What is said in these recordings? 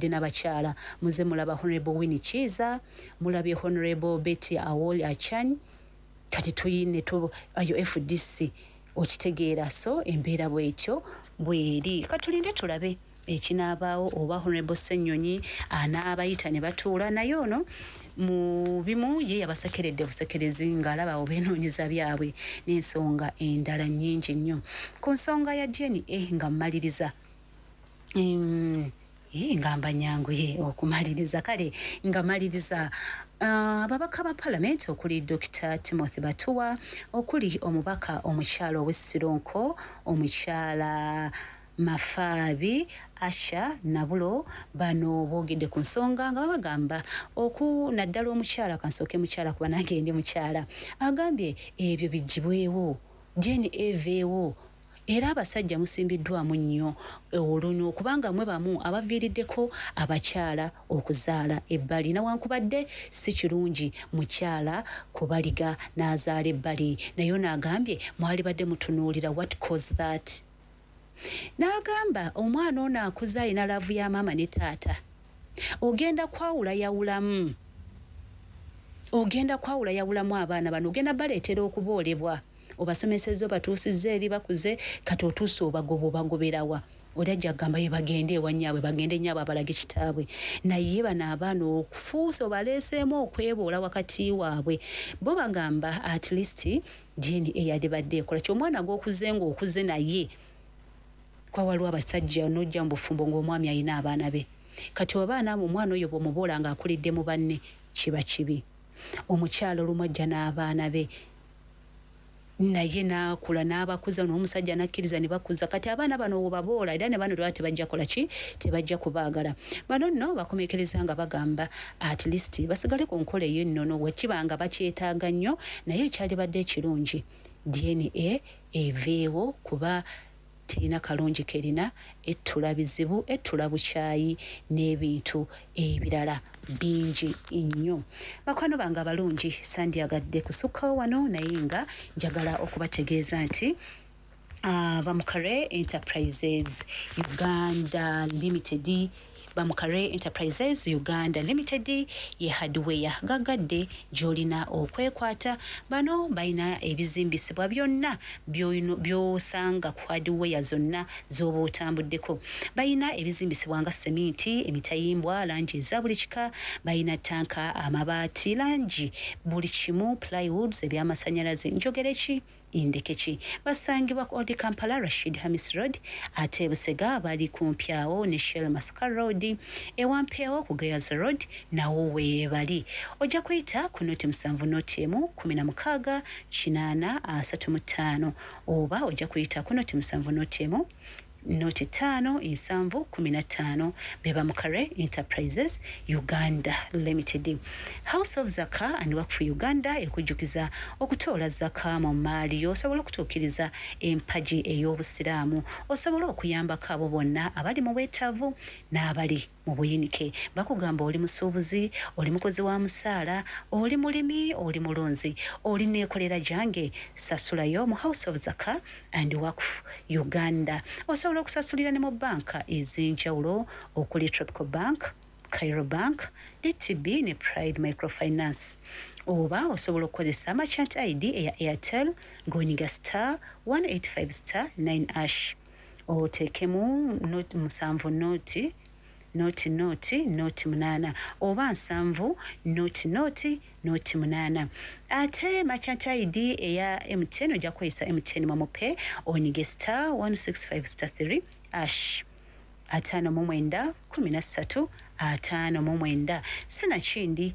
N'abakyala muze mulaba Honorable Winnie Kiiza, mulabye Honorable Betty Aol Achan. Kati tuyine ayo FDC, okitegeera? So embeera bwetyo bweri. Katulinde tulabe ekinaabaawo, oba Honorable Ssenyonyi anaabayita ne batuula. Naye ono mu bimu ye yabasekeredde busekerezi ng'alaba abo beenoonyeza byabwe n'ensonga endala nnyingi nnyo. Ku nsonga ya DNA, nga mmaliriza, ngamba nyanguye okumaliriza, kale nga maliriza, ababaka ba palamenti okuli Dr Timothy Batuwa, okuli omubaka omukyala ow'Essironko, omukyala Mafaabi Asha Nabulo, bano boogedde ku nsonga nga babagamba oku naddala omukyala, kansooke mukyala kuba nange ndi mukyala, agambye ebyo bigibwewo, DNA eveewo. Era abasajja musimbiddwamu nnyo oluno kubanga mwe bamu abaviiriddeko abakyala okuzaala ebbali, nawankubadde si kirungi mukyala kubaliga n'azaala ebbali, naye ono agambye mwalibadde mutunuulira what cause that. N'agamba omwana ono akuze alina love ya maama ne taata, ogenda kwawulayawulamu, ogenda kwawulayawulamu abaana bano, ogenda baleetera okuboolebwa. Obasomesezza, obatuusizza eri, bakuze, kati otuuse obagoba, obagoberawa? Oli ajja kugamba ye bagende ewa nnyaabwe, bagende nnyaabwe abalage kitaabwe. Naye bano abaana okufuusa obaleeseemu okweboola wakati waabwe. Bo bagamba at least DNA yalibadde ekola ki omwana gw'okuze ng'okuze, naye kwa waliwo abasajja n'ojja mu bufumbo ng'omwami alina abaana be. Kati abaana abo, omwana oyo bw'omuboola ng'akulidde mu banne, kiba kibi. Omukyala olumu ajja n'abaana be, naye n'akula n'abakuza, n'omusajja n'akkiriza ne bakuza. Kati abaana bano webaboola era ne bano lwaba tebajja kola ki? Tebajja kubaagala. Bano nno bakomekereza nga bagamba at least basigale ku nkola ey'ennono wekiba nga bakyetaaga nnyo, naye ekyalibadde ekirungi DNA eveewo kuba terina kalungi kerina, ettula bizibu, ettula bukyayi n'ebintu ebirala bingi nnyo. Bakwano bange abalungi, sandyagadde kusukkawo wano, naye nga njagala okubategeeza nti Bamukare Enterprises Uganda Limited, Bamukare Enterprises Uganda Limited ye hardware gagadde gy'olina okwekwata. Bano balina ebizimbisibwa byonna by'osanga ku hardware zonna z'oba otambuddeko. Balina ebizimbisibwa nga seminti, emitayimbwa, langi eza buli kika, balina tanka, amabaati, langi, buli kimu, plywoods, ebyamasanyalaze, njogere ki, ndeke ki. Basangibwa ku Old Kampala, Rashid Hamis Road, ate Busega bali kumpi awo ne Shell, Masaka Road, ewampeewo ku Gayaza Road nawo weebali. Ojja kuyita ku 070 01 16 80 35, oba ojja kuyita ku 070 01 05 7 15. Beba Mukare Enterprises Uganda Limited. House of Zaka and Waqf Uganda ekujjukiza okutoola zaka mu maali yo, osobola okutuukiriza empagi ey'obusiraamu, osobola okuyambako abo bonna abali mu bwetaavu n'abali mu buyinike. Bakugamba oli musuubuzi, oli mukozi wa musaala, oli mulimi, oli mulunzi, oli neekolera gyange, sasulayo mu House of Zaka and Waqf Uganda. Osobola okusasulira ne mu banka ez'enjawulo okuli Tropical Bank, Cairo Bank, DTB ne Pride Microfinance, oba osobola okukozesa merchant ID eya Airtel ng'onyiga *185*9#, oteekemu 7 0 0 0 0 8 oba 7 0 0 0 8. Ate merchant ID eya MTN ojja kukozesa MTN MoMo Pay, onyige *165*3#, 59 13 59. Sinakindi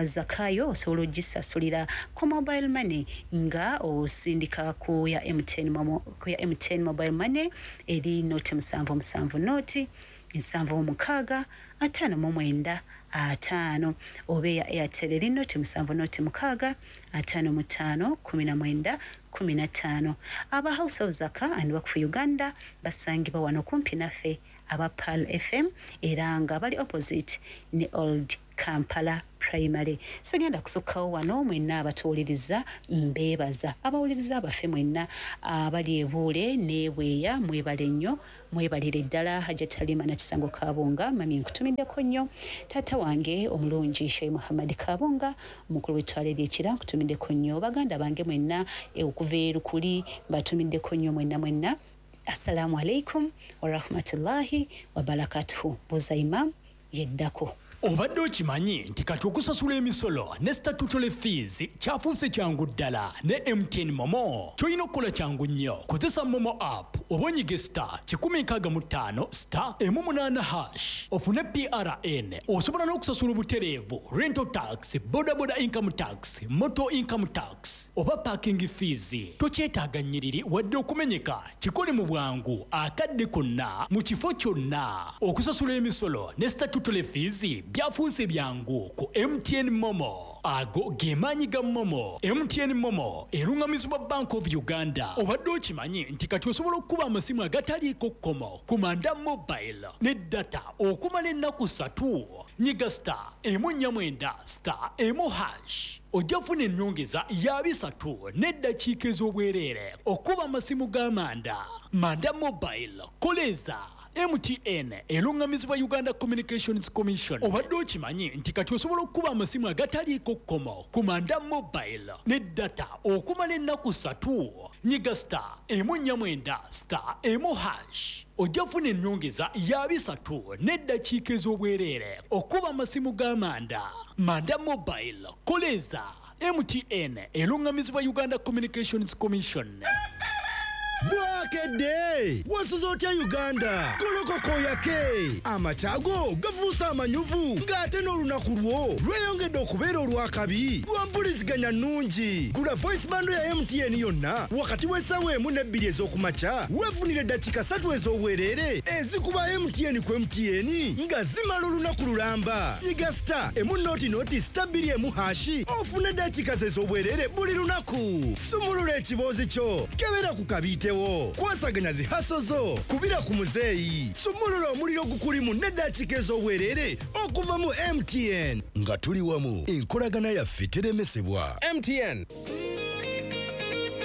zakayo osobola ogisasulira ku mobile money nga osindika ku ya MTN MoMo, ku ya MTN mobile money eri 077 0 76 59 50, oba eya Airtel eri 070 06 55 19 15. Aba House of Zaka and Waqf Uganda basangibwa wano kumpi naffe aba Pearl FM, era nga bali opposite ne Old Kampala Primary. Sigenda kusukkawo wano, mwenna abatuwuliriza mbeebaza, abawuliriza abaffe mwenna abali ebuule n'ebweya, mwebale nnyo, mwebalire ddala. Hajat Halima Nakisango Kabunga, mami, nkutumiddeko nnyo. Taata wange omulungi Sheikh Muhammad Kabunga, omukulu w'ettwale ly'Ekira, nkutumiddeko nnyo. Baganda bange mwenna okuva Erukuli, mbatumiddeko nnyo mwenna mwenna. Assalamu alaikum warahmatullahi wabarakatuhu. Buuza Imam yeddako. Obadde okimanyi nti kati okusasula emisolo ne statutory fees kyafuuse kyangu ddala ne MTN MoMo? Kyolina okukola kyangu nnyo. Kozesa MoMo app oba onyige *165*18# ofune PRN. Osobola n'okusasula obutereevu rental tax, bodaboda income tax, motor income tax oba parking fees. Tokyetaaga nnyiriri wadde okumenyeka. Kikole mu bwangu, akadde konna, mu kifo kyonna. Okusasula emisolo ne statutory fees byafuuse byangu ku MTN MoMo. Ago ge maanyi ga MoMo. MTN MoMo eruŋŋamizibwa Bank of Uganda. Obadde okimanyi nti kati osobola okukuba amasimu agataliiko kkomo ku Manda Mobile ne data okumala ennaku 3? Nyiga *149*1#, ojja funa ennyongeza ya 300 n'eddakiika ez'obwereere okuba amasimu ga Manda. Manda Mobile, koleza. MTN eruŋŋamizibwa Uganda Communications Commission. Obadde okimanyi nti kati osobola okukuba amasimu agataliiko kkomo ku Manda Mobile ne data okumala ennaku 3? Nyiga *149*1#, ojja funa ennyongeza ya 300 n'eddakiika ez'obwereere okuba amasimu ga Manda. Manda Mobile, koleza. MTN eruŋŋamizibwa Uganda Communications Commission. Bwakedde, wasuze otya Uganda? Golokoko yake amakyago gafuuse amanyuvu, ng'ate n'olunaku lwo lweyongedde okubeera olwakabi lwa mpuliziganya nnungi. Gula voice bundle ya MTN yonna wakati w'essaawa 1 ne 2 ez'okumakya, weefunire eddakiika 3 ez'obwereere ezikuba MTN ku MTN nga zimala olunaku lulamba. Nyiga *100*21# ofune eddakiika ez'obwereere buli lunaku. Sumulula ekiboozi kyo, kebera ku kabiitewo, kwasaganya zi hustle zo, kubira ku muzeeyi, sumulula omuliro gukulimu n'eddakiika ez'obwereere okuva mu MTN. Nga tuli wamu, enkolagana yaffe teremesebwa. MTN.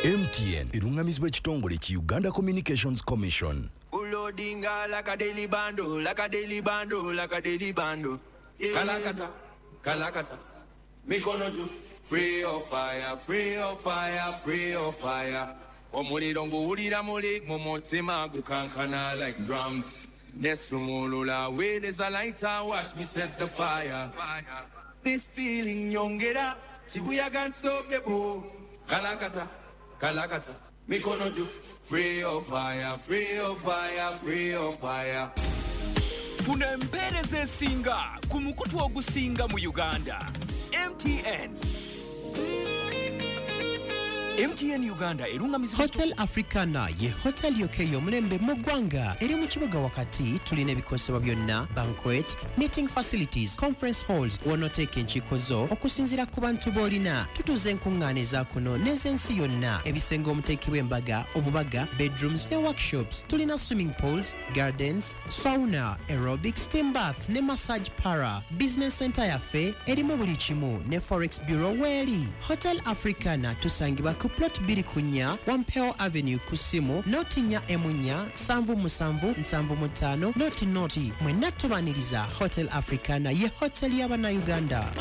MTN eruŋŋamizibwa ekitongole ki Uganda Communications Commission. Ulodinga like a daily bando, like a daily bando, like a daily bando. Yeah. Kalakata, kalakata, mikono juu. Free of fire, free of fire, free of fire. Omuliro nguwulira muli mu mutima gukankana like drums. Nesumulula with is a lighter, watch me set the fire. This feeling nyongera, chibuya can't stop the boom. Kalakata, kalakata, mikono juu. Free of fire, free of fire, free of fire. Funa empeereza esinga ku mukutu ogusinga mu Uganda. MTN. MTN Uganda erungamizibwa. Hotel Africana ye hotel yokka ey'omulembe mu ggwanga. Eri mu kibuga wakati. Tulina ebikozesebwa byonna, banquet, meeting facilities, conference halls, w'onooteeka enkiiko zo okusinziira ku bantu b'olina. Tutuuza enkuŋŋaana eza kuno n'ez'ensi yonna, ebisenge omuteekebwa embaga, obubaga, bedrooms ne workshops. Tulina swimming pools, gardens, sauna, aerobic, steam bath ne massage parlour. Business center yaffe erimu buli kimu, ne forex bureau weeri. Hotel Africana tusangibwa ku plot 24 Wampeo Avenue, ku simu 044 77 75 00. Mwenna tubaniriza. Hotel Africana ye hotel y'Abannayuganda.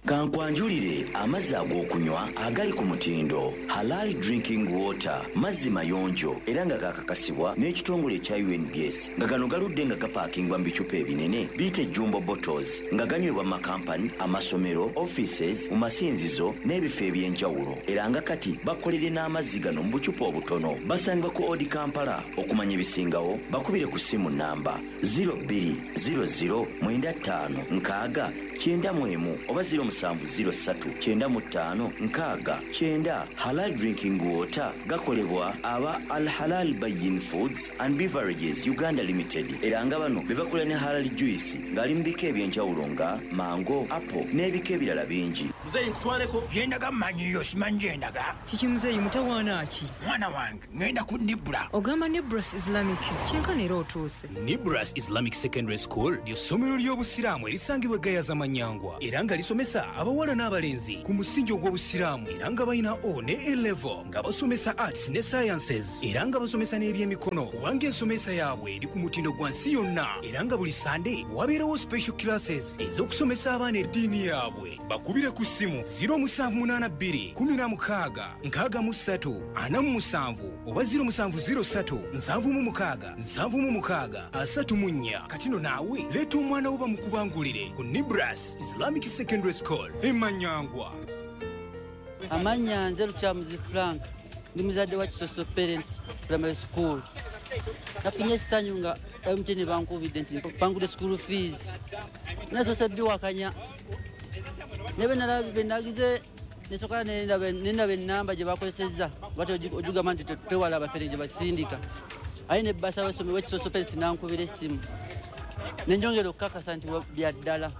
Kankwanjulire amazzi ag'okunywa agali ku mutindo, Halal Drinking Water. Mazzi mayonjo era nga gakakasibwa n'ekitongole ekya UNBS, nga gano galudde nga gapaakingwa mu bicupa ebinene biyite jumbo bottles, nga ganywebwa mu makampani, amasomero, offices, mu masinzizo n'ebifo eby'enjawulo. Era nga kati bakolere n'amazzi gano mu bucupa obutono. Basangibwa ku Odi Kampala. Okumanya ebisingawo bakubire ku ssimu namba 0200 95 6 91 oba 0703 95 6 90. Halal Drinking Water gakolebwa aba Al Halal Bayin Foods and Beverages Uganda Limited, era nga bano be bakola ne halal juice ng'ali mu bika ebyenjawulo nga mango, apple n'ebika ebirala bingi. Muzeeyi, nkutwaleko Gyendaga mmanyiyo, simanyi gyendaga. Kiki muzeeyi, mutawaana ki? Mwana wange, ŋŋenda ku Nibra. Ogamba Nibras Islamic, kyenkana era otuuse. Nibras Islamic Secondary School ly'essomero ly'Obusiraamu erisangibwa e Gayaza Manyangwa, era nga lisomesa abawala n'abalenzi ku musingi ogw'Obusiraamu, era nga balina O ne A level, nga basomesa arts ne sciences, era nga basomesa n'ebyemikono, kubanga ensomesa yaabwe eri ku mutindo gwa nsi yonna, era nga buli Sande wabeerawo special classes ez'okusomesa abaana eddiini yaabwe. Bakubire ku ssimu 0782 16 63 47 oba 0703 76 76 34. Kati no naawe leeta omwana wo bamukubangulire ku Nibras Islamic Secondary School Emanyangwa. Amannya nze Lukyamuzi Frank, ndi muzadde wa Kisoso Parents Primary School. Nafunye essanyu nga MTN bankubidde nti mpangudde school fees. Nasoose biwakanya, naye benagize nesoka nendaba enamba gye bakozesezza, bati ogigamba nti tewala abafere gye basindika, aye ne bursar w'essomero w'Ekisoso Parents nankubira essimu, nenjongera okukakasa nti bya ddala.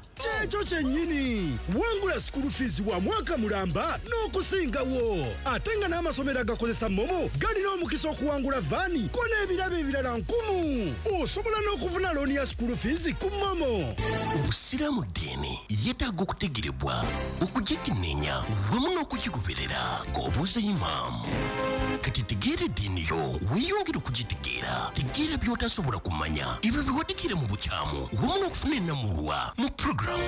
Kyekyo kyennyini, wangula school fees wa mwaka mulamba n'okusingawo, ate nga n'amasomero agakozesa MoMo galina omukisa okuwangula van ko n'ebirabo ebirala nkumu. Osobola n'okufuna looni ya school fees ku MoMo. Obusiraamu ddiini yeetaaga okutegerebwa, okugikenneenya wamu n'okugigoberera ng'obuuza imaamu. Kati tegeera eddiini yo, weeyongere okugitegeera. Tegeera by'otasobola kumanya, ebyo bye wategeera mu bukyamu, wamu n'okufuna ennamulwa mu puroguramu.